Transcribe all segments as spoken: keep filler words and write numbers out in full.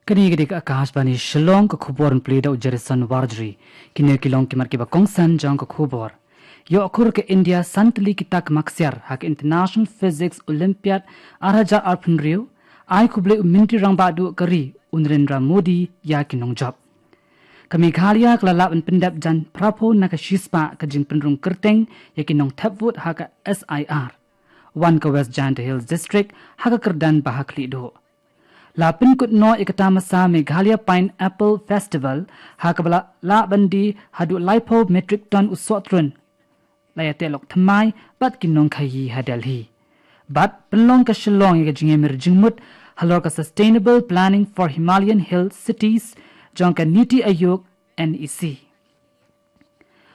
Kane ka dei ka Akashvani Shillong, ka khubor ban pule da u Jerison Warjri. Kine ki long ki mat kiba kongsan jong ka khubor. Ïoh khur ka India san tylli ki takma ksiar ha ka International Physics Olympiad ar hajar arphew hynriew, ai khublei u Myntri Rangbah Duh ka ri u Narendra Modi ïa ki nongjop. Ka Meghalaya ka la lah ban pyndep jan phraphew na ka shispah ka jingpynrung kyrteng ïa ki nongthep vote ha ka S I R. Wan ka West Jaintia Hills District ha ka kyrdan ba ha khlieh duh. La pynkut noh ïa ka tamasa Meghalaya Pineapple Festival ha kaba la lah ban die haduh laiphew metric ton u sohtrun. La ïateh lok thymmai bad ki nongkhaïi ha Delhi. Bad pynlong ka Shillong ïa ka jingïamir jingmut halor ka Sustainable Planning for Himalayan Hill Cities jong ka NITI Aayog, N E C.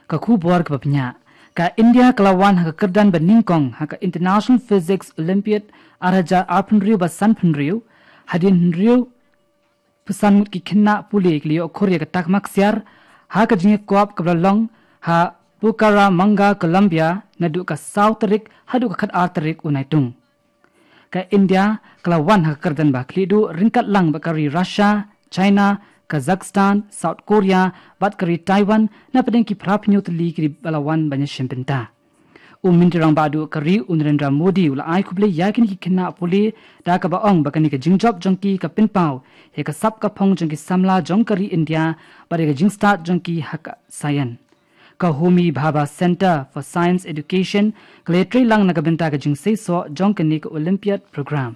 Ka khubor kaba bniah. Ka India ka la wan ha ka kyrdan ba nyngkong ha ka International Physics Olympiad ar hajar arphew hynriew bad sanphew hynriew, hadien hynriew phew san ngut ki khynnah pule ki la ïoh khur ïa ka takma ksiar ha ka jingïakop kaba la long ha Bucaramanga, Colombia, naduh ka saw tarik haduh ka khatar tarik u Naitung. Ka India ka la wan ha ka kyrdan ba khlieh duh ryngkat lang bad ka ri Russia, China, Kazakhstan, South Korea bad ka ri Taiwan, na pdeng ki phraphew hynñiew tylli ki ri ba la wan ban ïashim bynta. U Myntri Rangbah Duh ka ri u Narendra Modi u la ai khublei ïa kine ki khynnah pule da kaba ong ba kane ka jingjop jong ki ka pynpaw ïa ka sap ka phong jong ki samla jong ka ri India bad ïa ka jingstad jong ki ha ka science. Ka Homi Bhabha Centre for Science Education ka la ïatrei lang na ka bynta ka jingseisoh jong kane ka Olympiad program.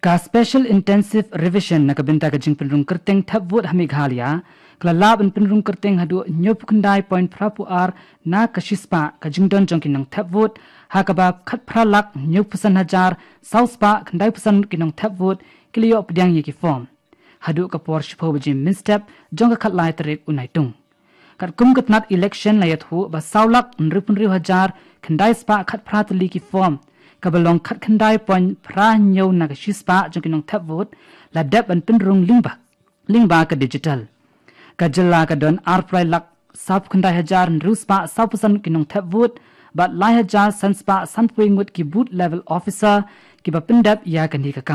Ka Special Intensive Revision na ka bynta ka jingpynrung kyrteng thep vote ha Meghalaya ka la lah ban pynrung kyrteng haduh hynñiewphew khyndai point phraphew ar na ka shispah ka jingdon jong ki nongthep vote, ha kaba khatphra lak hynñiewphew san hajar saw spah khyndaiphew san ki nongthep vote ki la ïoh pdiang ïa ki form haduh ka por shiphew baje mynstep jong ka khatlai tarik u Naitung. Katkum ka tnat election la ïathuh ba saw lak hynriewphew hynriew hajar khyndai spah khatphra tylli ki form, kaba long khatkhyndai point phra hynñiew na ka shispah jong ki nongthep vote, la dep ban pynrung lyngba, lyngba ka digital. Ka jylla ka don arphew lai lak sawphew khyndai hajar hynriew spah sawphew san ki nongthep vote bad lai hajar san spah sanphew wei ngut ki booth level officer kiba pyndep ïa kane ka kam.